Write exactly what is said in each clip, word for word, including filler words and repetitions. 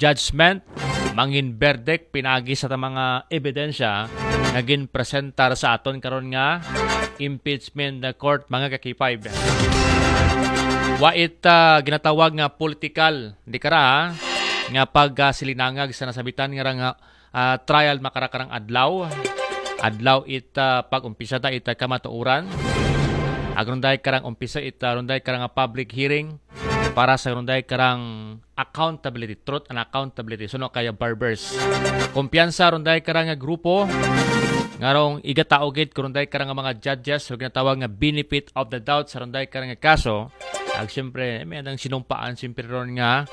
judgment, mangin verdict pinaagi sa mga ebidensya nga ginpresentar sa aton karon nga impeachment court, mga ka-K five. Wa it, ah, ginatawag nga political, di kara, ha? Nga pagsilinangag sa nasabitan nga ra nga, ah, trial makarakarang adlaw. Adlaw it, ah, pag-umpisa ta it, ah, kamatuoran. Agronday karang umpisa it, ah, runday karang, ah, public hearing para sa runday karang accountability, truth and accountability. Suno kaya barbers. Kumpiyansa runday karang, ah, grupo. Ngarong igataogit ko runday karang mga judges, so ginatawag nga benefit of the doubt sa runday karang kaso. Ag siyempre, may andang sinumpaan, siyempre ron nga,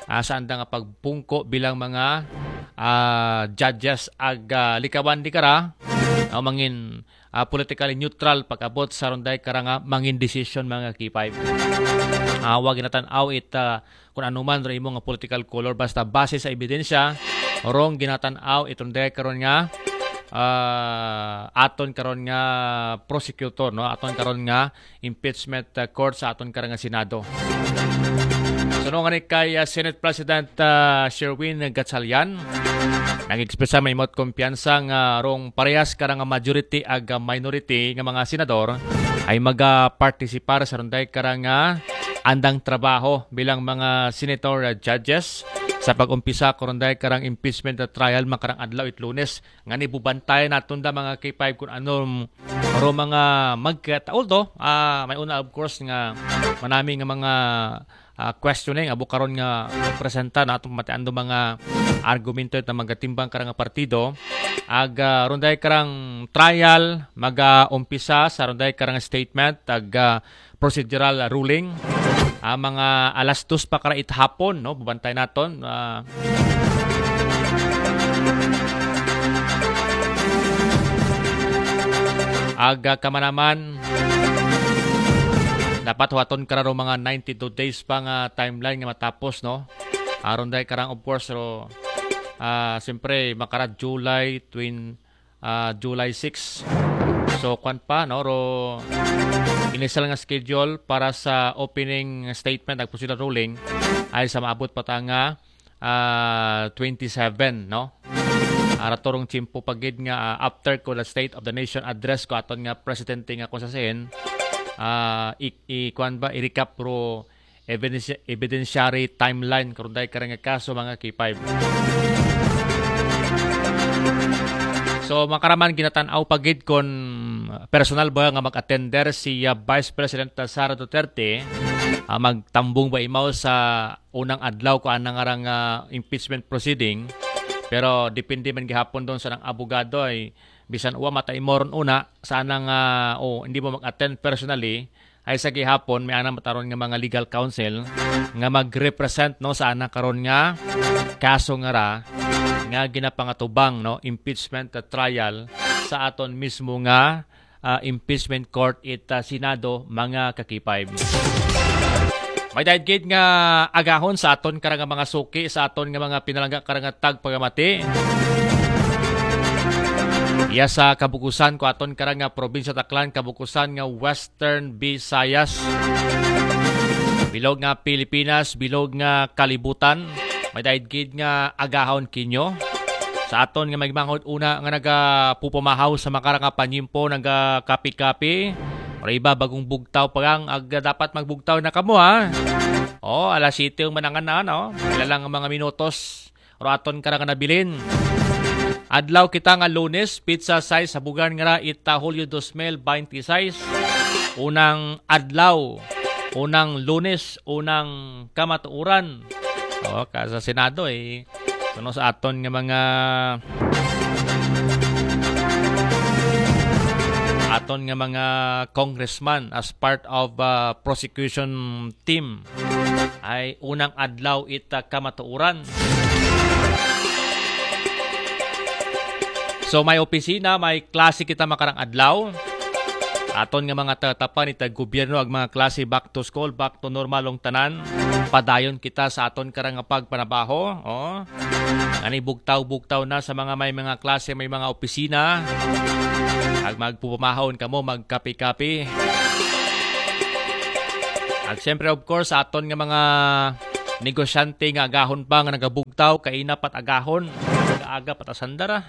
ah, sa andang pagpungko bilang mga, ah, judges ag, ah, likawan di kara, ah, mangin, ah, politically neutral pag-abot sa runday karang, ah, mangin decision, mga K five. Ah, wa ginatan-aw it, ah, kung ano man ro imo nga political color, basta base sa ebidensya, rong ginatan-aw itong day karon nga, ah, aton karon nga prosecutor, no? Aton karon nga impeachment, ah, court sa aton karang Senado. Suno nga ni kay, ah, Senate President, ah, Sherwin Gatchalian, nag-express sa may imot kumpiyansa nga rong parehas karang majority ag minority nga mga senador ay maga-participar sa runday karang, ah, andang trabaho bilang mga senator, ah, judges sa pag-umpisa ko runday karang impeachment, ah, trial makarang adlaw it Lunes. Nga ni bubantay naton da mga K five kung ano ro mga magkataol to. Ah, may una, of course, nga manami nga mga, ah, questioning abo karon nga presenta na atong matiando mga argumento ta magatimbang karang partido. Ag, ah, runday karang trial maga-umpisa sa runday karang statement ag, ah, procedural ruling. Ah, mga alas dos pa kara it hapon, no? Bubantay naton. Ah, aga ka man naman. Dapat huwaton kararo mga ninety-two days pa nga timeline nga matapos, no? Aron dahil karang, of course, ro, ah, siyempre, makara July twin-, ah, July six. So, kwan pa, no? Ro, initial nga schedule para sa opening statement, nagpusila ruling, ay sa maabot pa ta nga, ah, twenty-seven, no? Ara turong tiyempo pa gid nga, ah, after ko the State of the Nation Address ko aton nga presidente nga kung sa sin, ah, i-, i-, kwan ba, i-recap ro evidence-, evidentiary timeline karon dahil karang nga kaso, mga K five. So, makaraman ginatanaw pa gid kon personal ba nga mag-attender si, ah, Vice President Sara Duterte, ah, magtambong ba imaw sa unang adlaw ko anang arang, ah, impeachment proceeding. Pero depende man gihapon doon sa nang abogado ay bisan uwa mata imoron una sa anang, ah, o hindi mo mag-attend personally, ay sa gihapon may anang mataron nga mga legal counsel nga mag-represent, no, sa anang karon nga kaso nga ra nga ginapangatubang, no, impeachment trial sa aton mismo nga, ah, impeachment court it, ah, Senado, mga kakipay. May dahil gid nga agahon sa aton karang mga suki, sa aton nga mga pinalangga karang tagpagamati. Iya sa kabukusan ko aton karang nga probinsya Taklan, kabukusan nga Western Visayas. Bilog nga Pilipinas, bilog nga kalibutan. May dahil gid nga agahon kinyo. Sa aton nga magmanghod una nga nagapupamahaw sa makarang nga panyimpo, nagakapi-kapi. Pero iba bagong bugtaw pa lang, ag dapat magbugtaw na kamo, ha? Oh, alas siyete ang manangan na, no? Pila lang ang mga minutos. Pero aton ka na nga nabilin. Adlaw kita nga Lunes, pizza size sa bugan nga ra ita Hulyo dos mil binte seis. Unang adlaw, unang Lunes, unang kamatuoran. Oh, ka sa Senado, eh. Kuno sa aton nga mga, aton nga mga congressman as part of, uh, prosecution team ay unang adlaw ita kamatuoran. So, may opisina, may klase kita makarang adlaw. Aton nga mga tatapan ita gobyerno ag mga klase back to school, back to normal ang tanan. Padayon kita sa aton karang nga pagpanabaho, oh. Ani bugtaw-bugtaw na sa mga may mga klase, may mga opisina. Ag magpupumahon kamo, magkape-kape. Ag siyempre, of course, sa aton nga mga negosyante nga agahon pa nga nagabugtaw, kaina pa't agahon, aga-aga pa't asandara.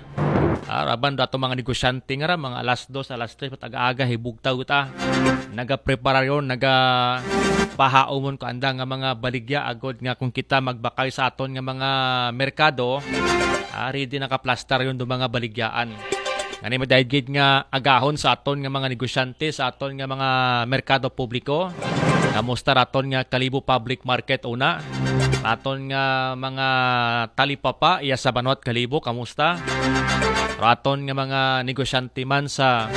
Ah, raban dato mga negosyante nga ra, mga alas dos, alas tres pa't aga-aga, hibugtaw ta. Nagapreparasyon, nagapahaumon ko anda nga mga baligya, agod nga kung kita magbakay sa aton nga mga merkado, ah, ready nakaplastar yon do mga baligyaan. Ngani madayad gid nga agahon sa aton nga mga negosyante, sa aton nga mga merkado publiko. Kamusta raton nga Kalibo Public Market una? Raton nga mga talipapa iya sa Banwat Kalibo, kamusta? Raton nga mga negosyante man sa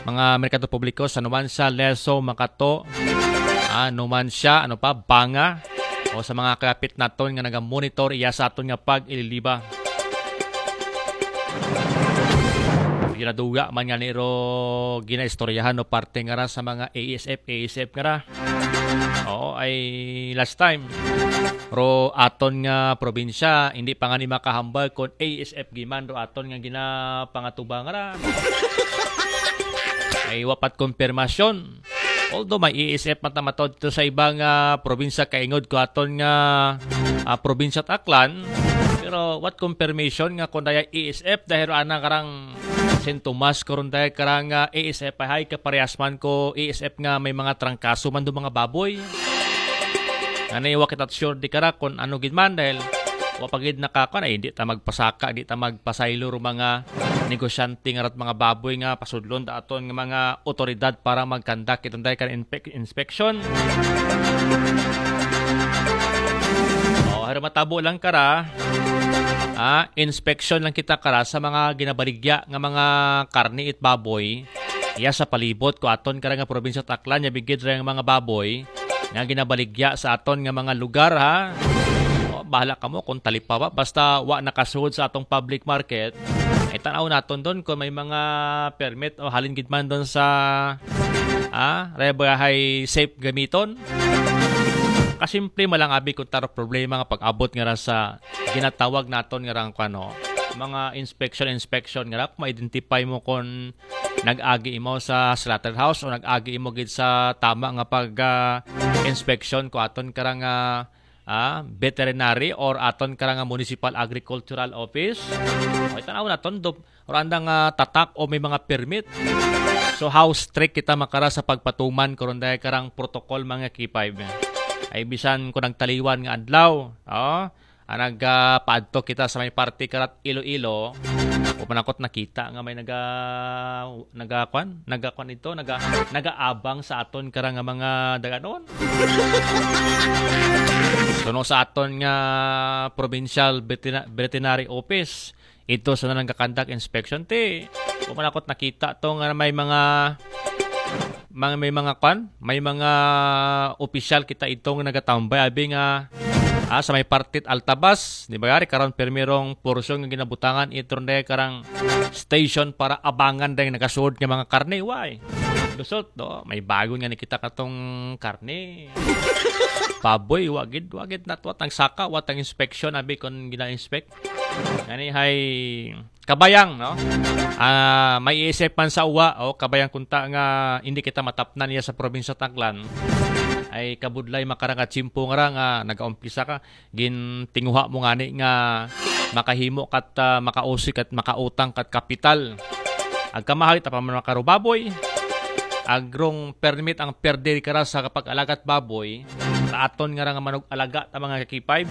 mga merkado publiko sa Numancia, Lezo, Makato, ah, Numancia, ano pa, Banga, o sa mga kapit naton nga naga-monitor iya sa aton nga pag-ililiba. Ginaduga man nga ni ro ginaistoryahan no parte nga ra sa mga A S F, A S F nga ra. Oo, ay last time. Ro aton nga probinsya, hindi pa nga ni makahambal kon A S F giman ro aton nga ginapangatuba nga ra. Ay wapat konfirmasyon. Although may A S F matamatod to sa ibang ah, probinsya kaingod ko aton nga ah, probinsya at Aklan, pero what confirmation nga kung daya A S F dahil ana karang sintomas ko ron dahil karang ah, A S F ay hay kaparehas man ko A S F nga may mga trangkaso man do mga baboy. Ngani wa kita sure di kara kung ano gid man dahil wa pa gid nakakuan ay hindi ta magpasaka, di ta magpasaylo ro mga negosyante nga rat mga baboy nga pasudlon da aton nga mga otoridad para magkandak itong dahil kan inspec- inspection. O, haro matabo lang kara. Ah, inspection lang kita kara sa mga ginabaligya nga mga karne it baboy. Iya sa palibot ko aton kara nga probinsya Taklan ya bigid ra nga mga baboy nga ginabaligya sa aton nga mga lugar ha. O, bahala kamo kung talipawa basta wa nakasuod sa atong public market. Ay tanaw naton doon kung may mga permit o halin gid man doon sa ah, rebahay safe gamiton. Kasimple man lang abi kung taro problema nga pag-abot nga ra sa ginatawag naton nga rang kano mga inspection inspection nga ra kung ma-identify mo kung nag-agi imo sa slaughterhouse o nag-agi imo gid sa tama nga pag ah, inspection ko aton karang ah, veterinary or aton karang municipal agricultural office. O itanaw naton do or andang ah, tatak o may mga permit. So how strict kita makara sa pagpatuman karon dahil karang protocol mga K five. Ay bisan ko nagtaliwan nga adlaw, oh, ah, nagpaadto kita sa may parte karat Iloilo. O panakot nakita nga may naga nagakwan, nagakwan ito, naga nagaabang sa aton karang nga mga daganon. Suno sa aton nga provincial veterina- veterinary office, ito sa nanang kakandak inspection ti. Wa man ako't nakita to nga may mga mga may mga kwan, may mga opisyal kita itong nagatambay abi nga ah, sa may partit Altabas, di ba gari karon permirong porsyon nga ginabutangan itron dahil karang station para abangan dahil nagasuod nga mga karne, why? Lusot, no? May bago nga nakita katong karne. Baboy, wagid, wagid natwat ang saka, wat ang inspection, abi kon gina-inspect. Ngani hay kabayang, no? Ah, may isip man sa uwa, o kabayang kunta nga hindi kita matapnan niya sa probinsya Taglan. Ay kabudlay makarang at simpo nga ra nga nagaumpisa ka, gintinguha mo ngani nga makahimo kat ah, makausi kat makautang kat kapital. Agkamahal ta pa man makarubaboy. Agrong permit ang perde kara sa kapag-alagat baboy. Taaton nga ra nga manog alaga ta mga kakipay.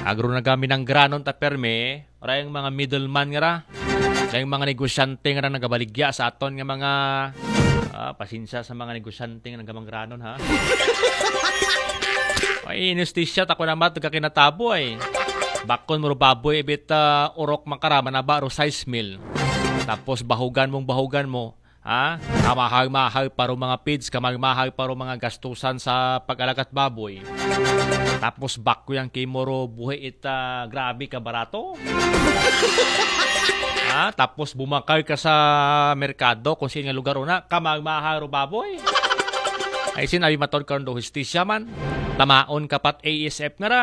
Agro nagaminanggranon ta perme. Ora yung mga middleman nga ra. Ora yung mga negosyante nga ra nagabaligya sa aton nga mga ah, pasensya sa mga negosyante nga nagamangranon ha. Ay, inistisya tako na mat kakinatabo ay. Bakon mo ro baboy ibit ah, urok makara manaba ro sais mil. Tapos bahugan mong bahugan mo, ha? Kamahal-mahal pa ro mga feeds, kamahal-mahal pa ro mga gastusan sa pag-alagat baboy. Tapos bakyo yang kimo ro buhi ita grabe ka barato. Ha? Tapos bumakal ka sa merkado kung sino nga lugar una, kamahal-mahal ro baboy. Ay sin abi matod karon do hustisya man. Tamaon kapat A S F nga ra.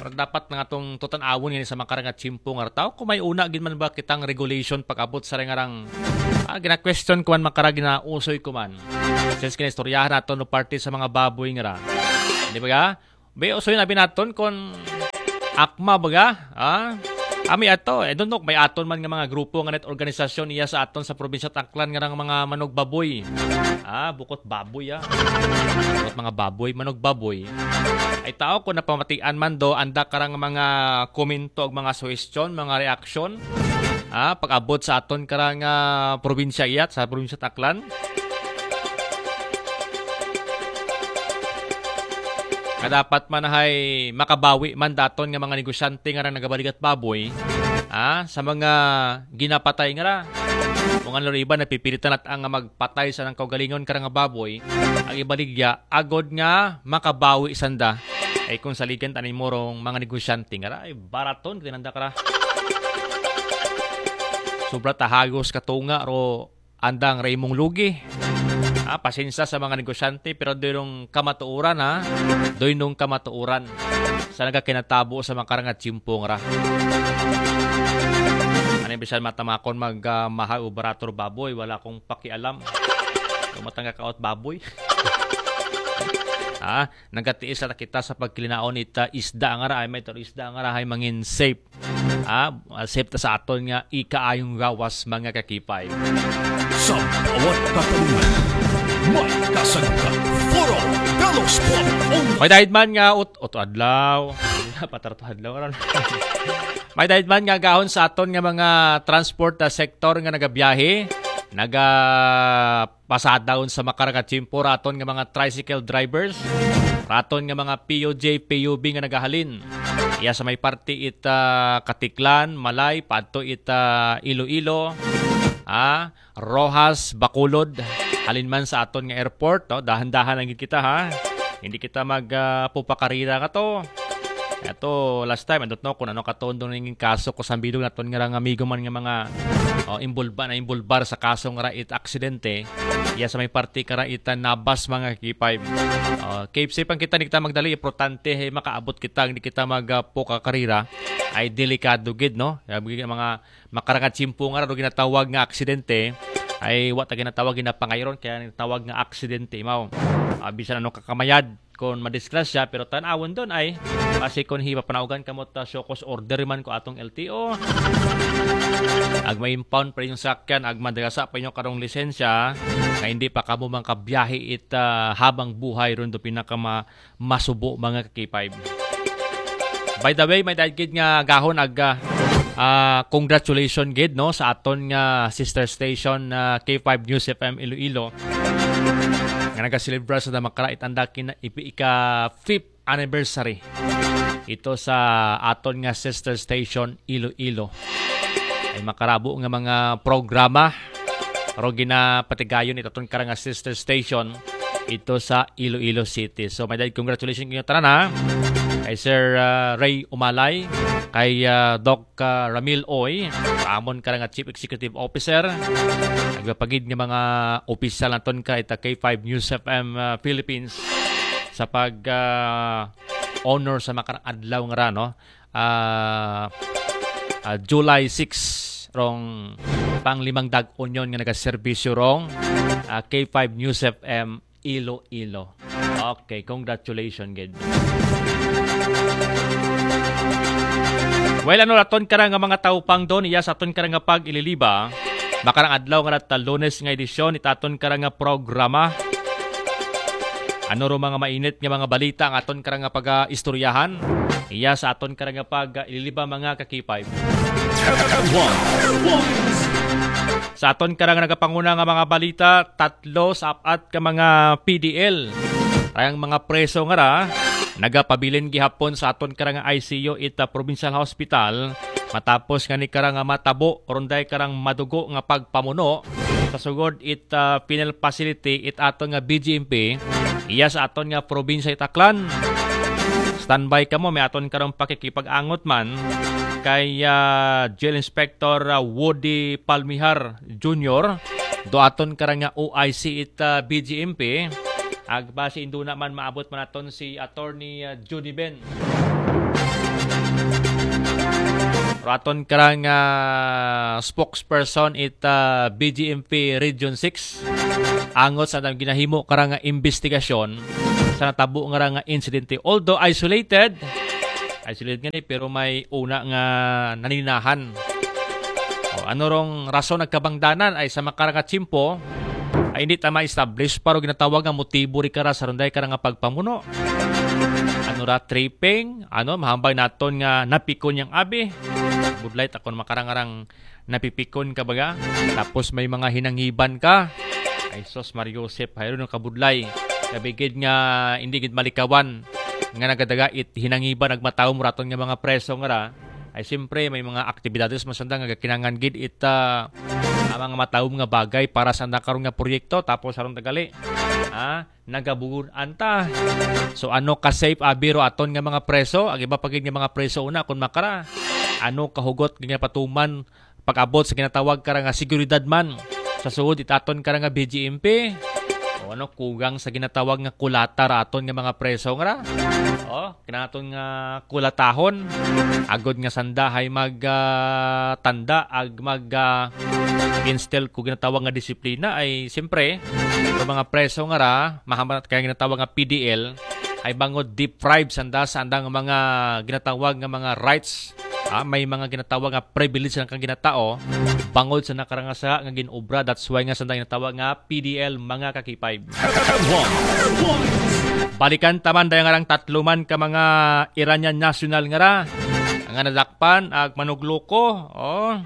Pero dapat nga tong tutan-awon nga sa makarangat simpo nga ra tao kung may una gid man ba kitang regulation pag-abot sa rengarang ah, gina-question ko man makara ginausoy ko man. Since kinaistoryahan nato no parte sa mga baboy nga ra. Di ba ga? Be, usoy na binaton kon akma baga, ha? Ami ato, I don't know, may aton man nga mga grupo nga net organisasyon iya sa aton sa probinsya Aklan nga mga manugbaboy. Ah, bukot baboy, ah. Bukot mga baboy, manugbaboy. Ay tao ko napamatian man do, anda karang mga komento ug mga suhestyon, mga reaksyon. Ah, pag-abot sa aton karang ah, probinsya iyat, sa probinsya Aklan. Nga dapat man hay makabawi man daton nga mga negosyante nga ra nagabaligat baboy, ah, sa mga ginapatay nga ra. Kung ano iba, napipilitan at ang magpatay sa nang kaugalingon kara nga baboy, ang ibaligya, agod nga makabawi sanda. Ay kung saligan tanin mo rong mga negosyante nga ra, ay baraton, kinanda kara. Sobra tahagos katunga, ro andang Raymond Lugi. Ah, pasensya sa mga negosyante, pero doy nung kamatuoran, ha? Doy nung kamatuoran. Sa nagakinatabo sa makarang at simpong ra. Ano yung bisan matamakon mag uh, mahal o barato baboy, wala akong pakialam. Kung matangga kaot baboy. Ah, nagatiis na kita sa pagkilinaon ita isda nga ra, ay may taro isda nga ra, ay mangin safe. Ah, safe ta sa aton nga ikaayong gawas, mga kakipay. Sa bawat katanungan, may kasagutan. Foro de los Pueblos. May dahil man nga ut oto adlaw. Patarto adlaw ron. May dahil man nga gahon sa aton nga mga transport na sektor nga nagabiyahe, naga pasada unsa makarang nga tiyempo raton nga mga tricycle drivers, raton nga mga P U J, P U B nga nagahalin. Iya sa may parte ita Katiklan, Malay, padto ita Iloilo, ah, Roxas, Bacolod, halin man sa aton nga airport, no? Dahan-dahan lang gid kita, ha. Hindi kita mag ah, pupakarira nga to. Ato last time, andot no kung ano katondong ning kaso ko sa bilog naton nga rang amigo man nga mga oh, imbulba na imbulbar sa kaso nga ra it aksidente. Iya sa may parte kara ita Nabas, mga K five. Oh, keep safe ang kita, hindi kita magdali, importante eh, makaabot kita, hindi kita mag ah, puka karira. Ay delikado gid, no? Mga makarang nga tiyempo nga ra do ginatawag nga aksidente, ay wa ta ginatawag, ginapangayron, kaya ginatawag nga aksidente mao. Ah, bisan ano kakamayad kon madisgrasya, pero tan-awon don ay basi kon hipapanaugan kamo ta show cause order man ko atong L T O. Ag ma-impound pa yung sakyan, ag madagasa pa yung karong lisensya, nga hindi pa kamo mangkabiyahe it ah, habang buhay ron do pinakama masubo, mga ka-K five. By the way, may dahil gid nga gahon ag ah, ah, congratulations gid, no, sa aton nga sister station na K five News F M Iloilo nga nagaselebra sa damakara itanda kina ipi ika fifth anniversary ito sa aton nga sister station Iloilo. Ay makarabo nga mga programa ro ginapatigayon ito aton karang nga sister station ito sa Iloilo City. So, may dahil congratulations kayo tanan, ha. Kay Sir ah, Ray Umalay, kay ah, Doc ah, Ramil Oy, amon karang nga Chief Executive Officer. Nagpapagid nga mga opisyal naton ka ita K five News F M ah, Philippines sa pag ah, honor sa makarang adlaw nga ra, no? Ah, ah, July six rong panglimang dag-on yon nga nagaserbisyo rong ah, K five News F M Iloilo. Okay, congratulations gid. Well, ano raton ka nga mga taupang don, iya sa aton ka nga pag-ililiba, makarang adlaw nga nata Lunes nga edisyon itaton ka nga programa. Ano ro mga mainit nga mga balita ang aton ka nga pag-istoryahan? Iya sa aton ka nga pag-ililiba, mga ka-K five. Sa aton ka nga nagapanguna nga mga balita, tatlo sa apat ka mga P D L. Kayang mga preso nga ra, nagapabilin gihapon sa aton ka nga I C U ita Provincial Hospital. Matapos nga ni karang matabo, runday karang madugo nga pagpamuno sa sugod it ah, penal facility it aton nga B G M P, iya sa aton nga probinsya it Aklan. Standby kamo, may aton karong pakikipag-angot man kay ah, Jail Inspector ah, Woody Palmihar Junior do aton karang nga O I C it ah, B G M P. Ag basi induna man maabot man aton si Attorney ah, Judy Ben. Raton karang ah, spokesperson it ah, B G M P Region six. Angot sa nang ginahimo karang ah, investigasyon sa natabo nga ra nga insidente. Although isolated, isolated nga ni, pero may una nga naninahan. O, ano rong rason nagkabangdanan ay sa makara nga tiyempo, ay hindi ta ma-establish pa ro ginatawag nga motibo ri kara sa runday kara nga pagpamuno. Ano ra, tripping, ano, mahambal naton nga napikon yang abi. Budlay ta kon makara nga rang napipikon ka baga. Tapos may mga hinangiban ka. Ay sus, Mario Joseph, hayro no kabudlay. Kabigid nga hindi gid malikawan nga nagadaga it hinangiban ag matawom raton nga mga preso nga ra. Ay siyempre may mga aktibidades man sanda nga kinahanglan gid it ah, ang mga matawom nga bagay para sa nakaron nga proyekto tapos aron tagali. Ah, nagabugon anta. So ano ka safe abi ro aton nga mga preso? Ag iba pa gid nga mga preso una kun makara. Ano kahugot nga patuman pag-abot sa ginatawag kara nga seguridad man sa suod it aton kara nga B G M P? O ano kugang sa ginatawag nga kulata ra aton nga mga preso nga ra? O kinaton nga kulatahon agod nga sanda hay mag ah, tanda ag mag ah, instill ko ginatawag nga disiplina ay siyempre ang mga preso nga ra mahamanat kaya ginatawag nga P D L ay bangod deprive sanda sa andang mga ginatawag nga mga rights. Ah, may mga ginatawag nga privilege ang kang ginatao bangod sa nakarangasa nga ginobra. That's why nga sanda ginatawag nga P D L mga kakipay. Balikan taman dahil nga rang tatlo man ka mga Iranian national nga ra nga nadakpan ag manugloko. Oh.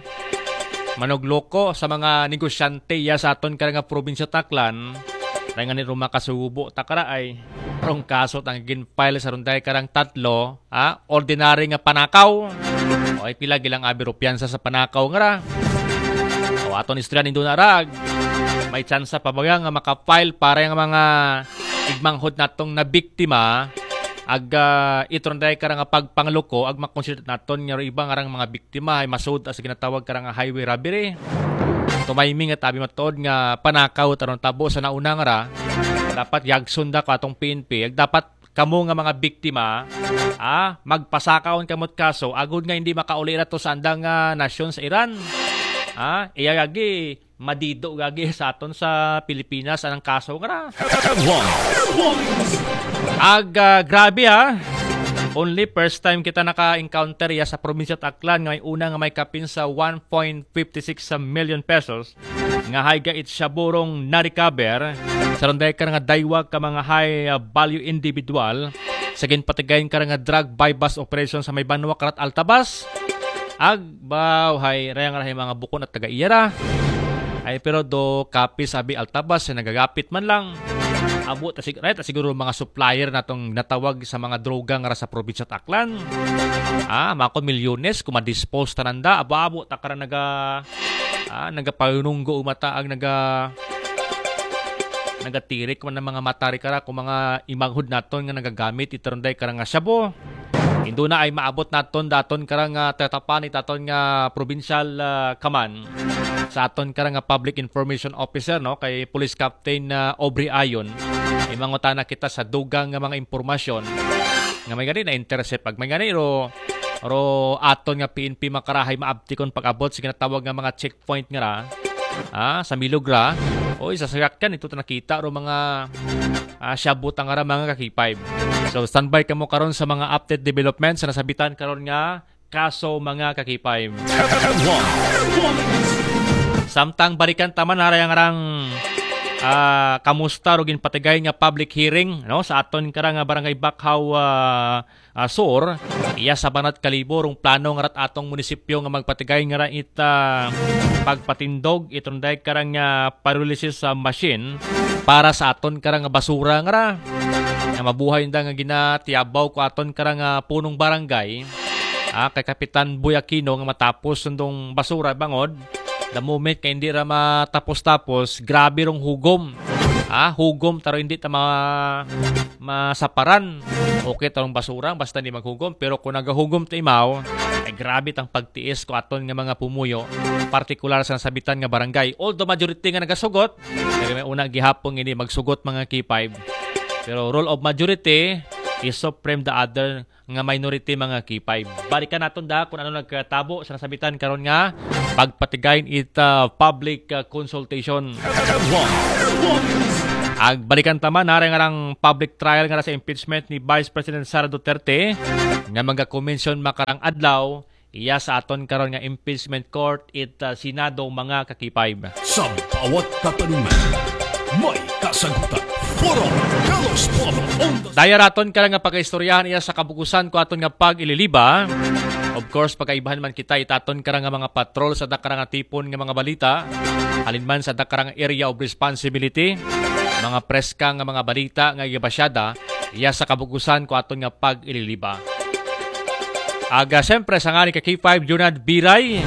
Manugloko sa mga negosyante ya sa aton kara nga probinsya Taklan. Dahil nga ni Roma kasubo takara ay rong kaso tang gin-file sa runday karang tatlo, ha? Ordinary nga panakaw. O ay pila gilang abi ro piyansa sa panakaw nga ra. O aton istorya nindo na rag. May tsansa pa ba nga maka-file para yung mga igmanghod natong na biktima ag ah, itron dahil kara nga pagpangloko ag makonsider naton nga iba nga rang mga biktima ay masud sa ginatawag kara nga highway robbery. Tumayming at abi matuod nga panakaw taron tabo sa nauna nga ra dapat yagson da ko atong P N P ag dapat kamo nga mga biktima ah, magpasakaon kamot kaso agud nga hindi makauli ra to sa andang ah, nasyon sa Iran. Ah, iya gagi madido gagi sa aton sa Pilipinas anang kaso nga ra. Ag ah, grabe ha. Only first time kita naka-encounter ya sa probinsya Aklan nga may una nga may kapin sa one point fifty six million pesos nga high ga it shabu rong na-recover sa runday kara nga daywag ka mga high ah, value individual sa ginpatigayon kara nga drug buy-bust operation sa may Banwa Karat Altabas. Ag baw hay rayang rahay mga bukon at taga iya ra. Ay pero do kapis abi Altabas ay nagagapit man lang. Abo ta sig right, siguro mga supplier natong natawag sa mga droga nga ra sa probinsya Aklan. Ah, makon milyones kung ma-dispose tananda. Abo-abo ta kara naga ah, nagapanunggo umata ag naga nagatirik man ang mga matari kara kung mga imanghod naton nga nagagamit itaronday kara nga shabu. Indo na ay maabot naton daton kara nga tatapan itaton nga provincial ah, kaman sa aton kara nga public information officer no kay Police Captain ah, Aubrey Ayon. Imangutana kita sa dugang nga mga impormasyon nga may gani na intercept pag may gani ro ro aton nga P N P makarahay maabtikon pag-abot sa ginatawag nga mga checkpoint nga ra ah, sa Milogra. Oy, sa sayakyan ito ta nakita ro mga ah, shabu ta nga ra mga ka-K five. So standby kamo karon sa mga update development sa nasabitan karon nga kaso mga ka-K five. Samtang balikan taman harayang rang ah, kamusta ro ginpatigay nga public hearing no sa aton kara nga barangay Bakhaw ah, ah, Sur iya sa Banat Kalibo rong plano nga rat atong munisipyo nga magpatigay nga ra it ah, pagpatindog itong dayag karang ah, pyrolysis ah, machine para sa aton karang basura nga ra nga mabuhay nda nga ginatiyabaw ko aton karang ah, punong barangay ah, kay Kapitan Boy Aquino nga matapos sundong basura bangod the moment kay hindi ra matapos-tapos grabe rong hugom ah, hugom taro hindi ta ma masaparan. Okay tarong basura basta hindi maghugom pero kung nagahugom ta imaw ay grabe tang pagtiis ko aton nga mga pumuyo partikular sa nasabitan nga barangay. Although majority nga nagasugot, pero may una gihapon hindi magsugot mga K five. Pero rule of majority is supreme the other nga minority mga K five. Balikan naton da kung ano nagkatabo sa nasabitan karon nga pagpatigayon it ah, public ah, consultation. Ag balikan ta man, nara nga rang public trial nga ra sa impeachment ni Vice President Sara Duterte, nga magakomensyon makarang adlaw, iya sa aton karon nga impeachment court it, ah, Senado, mga ka-K five. Sa bawat katanungan, may kasagutan. Forum Carlos Popo on the Daya raton ka nga pagaistoryahan iya sa kabukusan ko aton nga pag-ililiba. Of course, pagaibahan man kita itaton ka nga mga patrol sa dakara nga tipon nga mga balita. Halin man sa dakara nga area of responsibility, mga preska nga mga balita nga igabasyada, iya sa kabukusan ko aton nga pag-ililiba. Aga, siyempre, sa ngani ka K five, Junad Biray.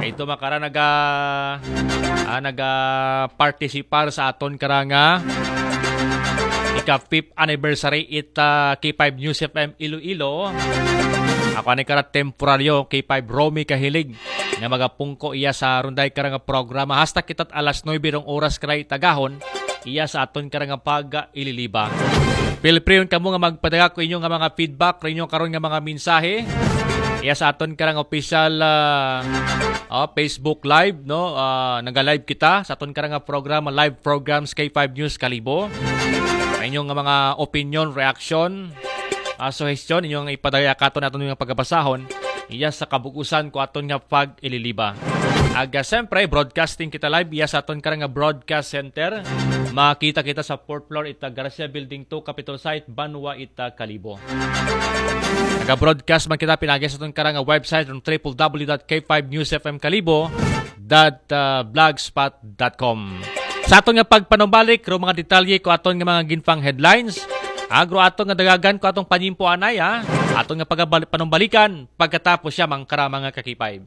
Ito makara naga, ah, naga participar sa aton karanga ika fifth anniversary it, ah, K five News F M Iloilo. Ako ani kara temporaryo, K five Romy Kahilig, nga magapungko iya sa runday karanga programa. Hasta kita't alas nuebe rong oras kara itagahon, iya sa aton karanga pag-ililiba. Feel free yun kamo nga magpadala ko inyo nga mga feedback, rin yung karon nga mga mensahe. Iya sa aton karang official, ah, oh, Facebook Live, no? Ah, naga-live kita sa aton karang nga programa, live programs K five News Kalibo. Ang inyong nga mga opinion, reaction, ah, suggestion, inyong ipadala katon aton nga pagabasahon. Iya sa kabukusan ko aton nga pag-ililiba. Aga, siyempre, broadcasting kita live iya sa aton karang nga broadcast center. Makita kita sa fourth floor ita Garcia Building two, Capitol Site, Banwa ita Kalibo. Naga-broadcast man kita pinagi sa aton karang nga website ng triple w dot k five news f m kalibo dot blogspot dot com. Sa aton nga pagpanumbalik, ro mga detalye ko aton nga mga ginpang headlines. Agro aton nga dagagan ko atong panyimpo anay, ah. Aton nga pagabal-, panumbalikan pagkatapos siya mangkara mga ka-K five.